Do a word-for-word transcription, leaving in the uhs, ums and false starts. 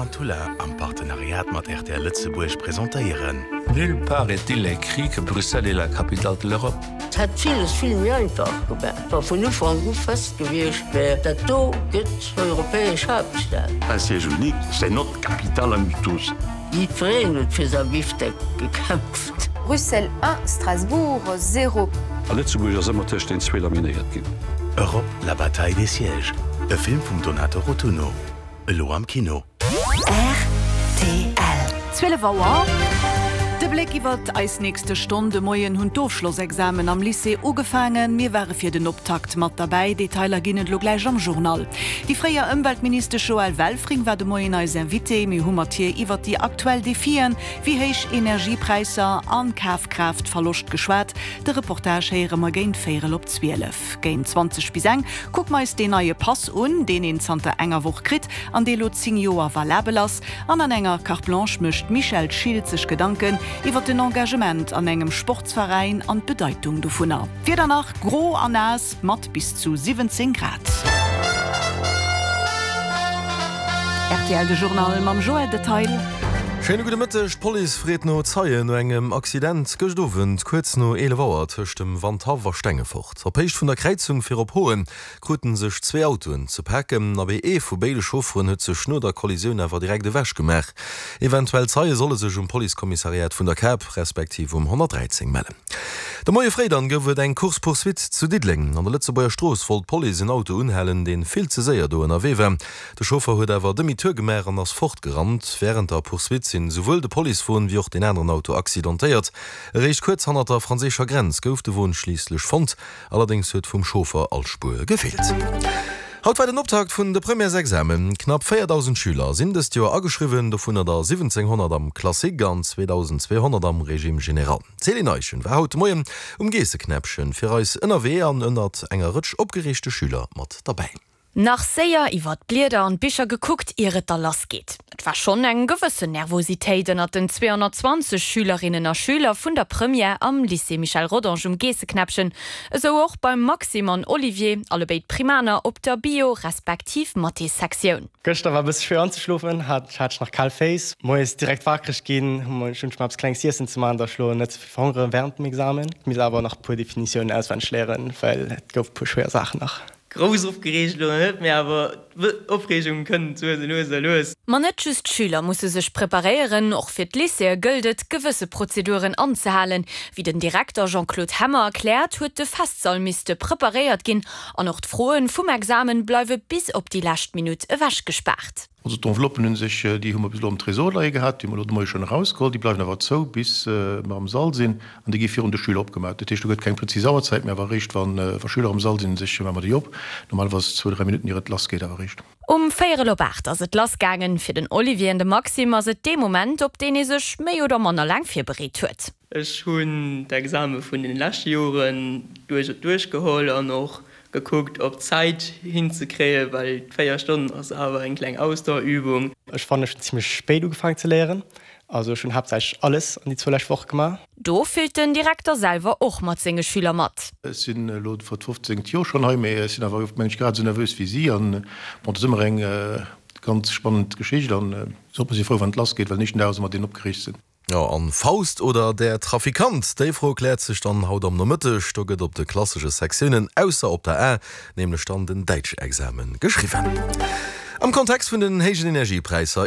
Tarantula am Partenariat mat R T L Lëtzebuerg presentéieren. Nulle part est-il écrit que Bruxelles est la capitale de l'Europe. Et hätt villes vill méi einfach gemaach, wa vun Ufank u fest gewiescht wär, dat do gëtt europäesch Haaptstad. Un siège unique, c'est notre capitale à nous tous. Jiddwereen huet fir säi Bifteck gekämpft. Bruxelles un, Strasbourg zéro. A Lëtzebuerg ass ëmmer tëscht den zwee laminéiert ginn. Europe, la bataille des sièges. E Film vum Donato Rotunno. Elo am Kino. R T L. zwielef Auer. De Bléck iwwer eis nächste Stonn. De Moien hunn d'Ofschlossexamen am Lycée ugefaangen. Mir ware fir den Optakt mat derbäi. Detailer ginn et lo gläich am Journal. Déi fréier Ëmweltministesch Joëlle Welfring war de Moien eis Invitée. Mir hu mat hir iwwer déi aktuell Defien, wéi héich Energiepräisser an Kafkraaftverloscht geschwat. De Reportage héiere mer géint véierel op zwielef. Géint zwanzeg bis eng kucke mer eis deen neie Pass un, deen een zanter enger Woch kritt an dee lo zéng Joer valabel ass. An an enger Carte Blanche mécht d'Michèle Schilt sech Gedanken iwwer den Engagement an engem Sportsveräin an d'Bedeitung dovunner. Wieder nach gro an naass mat bis zu siwwenzéng Grad. R T L de Journal mam Joël Detail. Schéine gudde Mëtteg. D'Police freet no Zeien no engem Accident gëscht Owend kuerz no eelef Auer tëscht dem Wandhaff a Stengefort. Op Héicht vun der Kräizung fir op Hoen kruten sech zwee Autoen ze paken, abee ee vu béide Chaufferen huet sech no der Kollisioun awer direkt ewech gemaach. Eventuell Zeie solle sech um Policekommissariat vun der Kap respektiv um honnertdräizéng mellen. De Moie fréi dann gouf et eng Course-poursuite zu Diddeleng. An der Lëtzebuerger Strooss wollt d'Police en Auto unhalen, dee vill ze séier do ënnerwee war. De Chauffer huet awer Demi-tour gemaach an ass fortgerannt. Wärend der Poursuite sinn souwuel de Policewon wéi och deen aneren Auto accidentéiert. Eréischt kuerz hannert der franséischer Grenz gouf de Won schliisslech fonnt. Allerdéngs huet vum Chauffer all Spuer gefeelt. Haut war den Optakt vun de Premièresexamen. Knapp véierdausend Schüler sinn dëst Joer ageschriwwen, dovunner der siwwenzénghonnert am Classique an zweedausendzweehonnert am Régime général. D'Céline Eischen war haut de Moien um Geesseknäppchen fir eis ënnerwee an ënnert enger Rëtsch opgereegte Schüler mat derbäi. Nach séier iwwer d'Blieder an d'Bicher gekuckt, ier et da lass geet. Et war schonn eng gewëssen Nervositéit ënnert den zweehonnertzwanzeg Schülerinnen a Schüler vun der Première am Lycée Michel Rodange um Geesseknäppchen. Esou och beim Maxime an Olivier, allebéid Primaner op der Bio respektiv Mathé-Sektioun. Gëschter war e bësse schwéier anzeschlofen, hat hat ech nach kal Féiss. Moies direkt wakereg ginn, hu mer schonn eppes Klenges z'iessen ze maachen, dass ech lo net ze vill verhongere wärend dem Examen. Misst awer nach puer Definitiounen auswenneg léieren, well et gouf puer schwéier Saachen nach. Grouss opgereegt lo net méi, awer Opreegung kënnt lues lues lues. Ma net just d'Schüler musse sech preparéieren, och fir d'Lycéeë gëllt et, gewësse Prozeduren anzehalen. Wéi den Direkter Jean-Claude Hemmer erkläert, huet de Festsall misste preparéiert ginn an och d'Froen vum Examen bleiwe bis op déi lescht Minutt ewechgespaart. Also d'Enveloppen hunn sech, déi hu mer bis elo am Tresor leie gehat, déi hu mer elo de Moie schonn erausgeholl, déi bleiwen awer zou bis mer am Sall sinn an déi gi virun de Schüler opgemaach. Dat heescht, do gëtt keng prezis Auerzäit, mä awer eréischt wa wa Schüler am Sall sinn, sech maache mer déi op. Normalerweis zwou, dräi Minutten ier et lassgeet awer eréischt. Um véierel op aacht ass et lassgaangen. Fir den Olivier an de Maxime ass et dee Moment, op deen ee sech méi oder manner laang virbereet huet. Ech hunn d'Exame vun den leschte Joren duerch duerchgeholl an och gekuckt, op Zäit hinzekréien, well véier Stonnen ass awer eng kleng Ausdauerübung. Ech fannen, ech hunn zimmlech spéit ugefaangen ze léieren, also ech hunn haaptsächlech alles an déi zwou lescht Woche gemaach. Do fillt den Direkter selwer och mat senge Schüler mat. Ech sinn elo fir d'fofzéngt Joer schonn hei, mee ech sinn awer mengen ech grad esou nervös wéi si an bon, et ass ëmmer eng ganz spannend Geschicht an sollt mer si frou wann et lassgeet, well den éischten Dag ass ëmmer deen opgereegtsten. Jo, an Faust oder der Trafikant? Déi Fro kläert sech dann haut am Nomëtteg. Do gëtt op de klassesche Sektiounen, ausser op der A, nämlech dann den Däitschexamen geschriwwen. Am Kontext vun den héijen Energiepräisser,